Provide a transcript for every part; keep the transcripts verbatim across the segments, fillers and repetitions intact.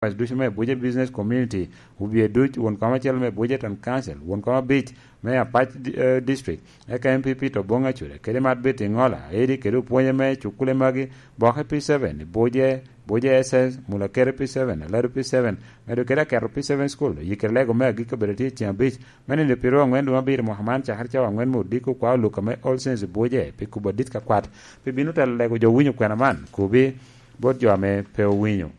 Ducu me Abuja Business Community, obye duc, won kom acel me Abuja Town Council, won kom abic me Apac di-, eh, District, eka M P P to Bong Acure, kede Mat Betty Ngola, Edi kede opwonye me cukule magi, Boke P seven, Buje, Buje S S, Mulakere P seven, Aladu P seven, medo kede Aketo P seven School, Yikere Lego me agikki obedo tye i ceng abic, me nino piro angwen dwe me abiro mwaka man, cakere cawa angwen me odiko kwa oluka me All Saints Buje, pi kubo adit ka kwat, pi bino telo lego jo winyo kwena man, kubi bot jo ame pe owinyo.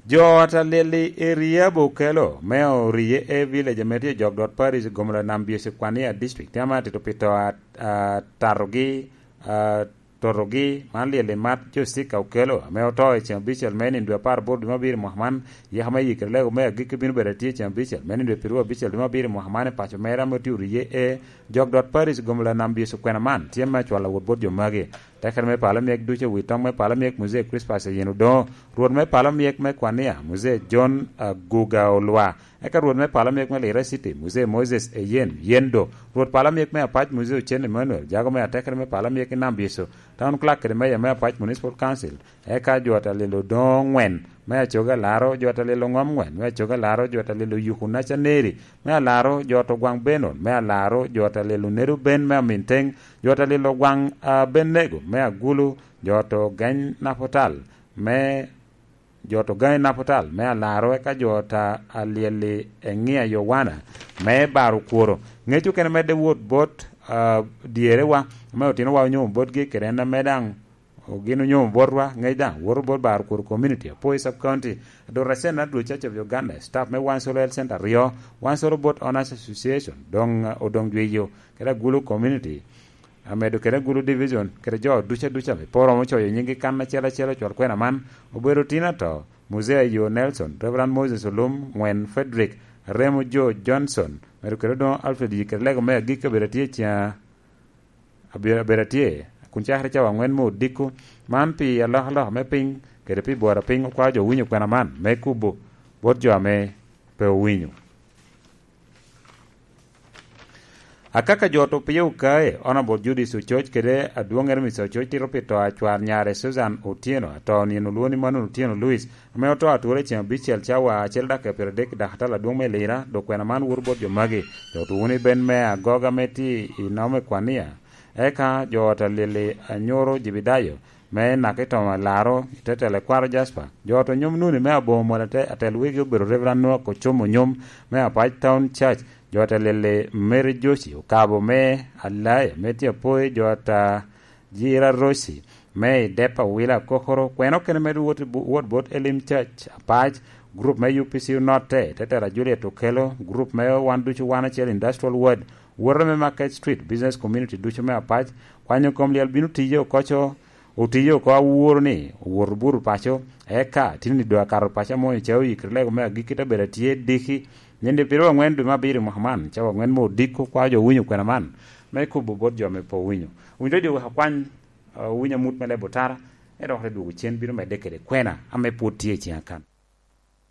Jo ata lyel i area Bokelo me Oriye A Village ame tye i Jogdot Parish, Gomola Nam Byecu, Kwania District, tye ame atito pi to a-, a-, tatogi, a, totogi, man lyel i mat jo Sika Okelo ame oto i ceng abicel me nino dwe apar aboro dwe me abiro mwaka man. Yeka me yikere lego me agikki bino bedo atye i ceng abicel me nino dwe pirwo abicel dwe me abiro mwaka man i paco mere ame tye Oriye A, Jogdot Parish, Gomola Nam Byecu, kwena man tye me acwalo wot bot jo magi. Tekere me palo myek ducu i wi toŋ me palo myek Muzee Crispas Eyen Odoŋo, Rwot me palo myek me Kwania, Muzee John Aguga Olwa, eka Rwot me palo myek me Lira City, Muzee Moses Eyen Yendo, Rwot palo myek me Apac, Muzee Ocen Emmanuel, jago me atekere me palo myek i Nam Byecu, Town Clerk kede Mayor me Apac Municipal Council, eka jo ata lyel Odoŋo ŋwen me Acoga Alaro, jo ata lyel Oŋom ŋwen me Acoga Alaro, jo ata lyel Oyuku Nacaneri me Alaro, jo ata Ogwaŋ Benon me Alaro, jo ata lyel Onedo Ben me Aminteng, jo ata lyel Ogwaŋ, a, Benego me Agulu, jo ata Ogany Napotal me, jo ata Ogany Napotal me Alaro, eka jo ata lyel i Eŋia Yowana me Baro Kworo. Ŋec okene medde wot bot, a, dyerewa, ame otinowa onyomo botgi, kede en ame daŋ gin onyomo botwa, ŋec daŋ woto bot Baro Kworo Community, Apoi Sub County, Dorasena Dwe Church of Uganda, staff me Wansolo Health Center aryo, Wansolo Boat Owners Association, doŋ, a, Odoŋ Jwiyo, kede Agulu Community, amedo kede Agulu Division, kede jo ducu aduca ame pe oromo coyo nyinggi kan acel acel ocwal kwena man, obedo tin ato, Muzee Ayo Nelson, Reverend Moses Olum, Ŋwen Frederick, Remo Joe Johnson, medo kede Odoŋo Alfred Yikere Lego me agikki obedo atye i ceng abiro, abedo atye, kun cakere cawa aŋwen me odiko, man pi alokaloka me piny, kede pi bworo piny, okwao jo winyo kwena man me kubo bot jo ame pe owinyo. Akaka jo to pie okae, Honorable Judith Ococ kede adwoŋŋere Mister Ococ tito pi to a cwar nyare Susan Otieno, ato nino olwoŋo ni Manon Otieno Louis, ame oto atura i ceng abicel cawa acel dakika pyeradek i dakatala adwoŋ me Lira, dok kwena man woto bot jo magi. Jo tuko ni ben me agoga me ti i nome kwania. Eka jo ot alili anyuro Jebedayo me Nakitomo Alaro, i te telo kwaro Jasper. Jo ot onyom nuni me aboŋo mol ate-, atel wegi obedo Reverend Noah Kocomo Onyom me Apac Town Church. Jo ot alili Mary Joshi Okabo me Alaya, me tye apoi jo ot a Jira Rosi, me i dep awila akokoro, kwena okene medo wot i bu-, wot bot Elim Church Apac, gurup me U P C onotte, te tela Juliet Okelo, gurup me Wan Ducu Wan Acel Industrial Ward, woto me Market Street, Business Community ducu me Apac, kwanyo kom lyel bino tiye oko co, otiye oko aworo ni, owoto buto paco, eka tini dwe akato paco amo i cawa oyikere lego me agikki te bedo atye diki, nindi piro angwen dwe me abiro mwaka man, cawa angwen me odiko, kwa jo winyo kwena man, me kubo bot jo me po winyo. Winyo jo wek akwany, ah, winyo amut me lebo tara, ento dok te dwogo cen bino medde kede kwena ame pwod tye i ceng akan.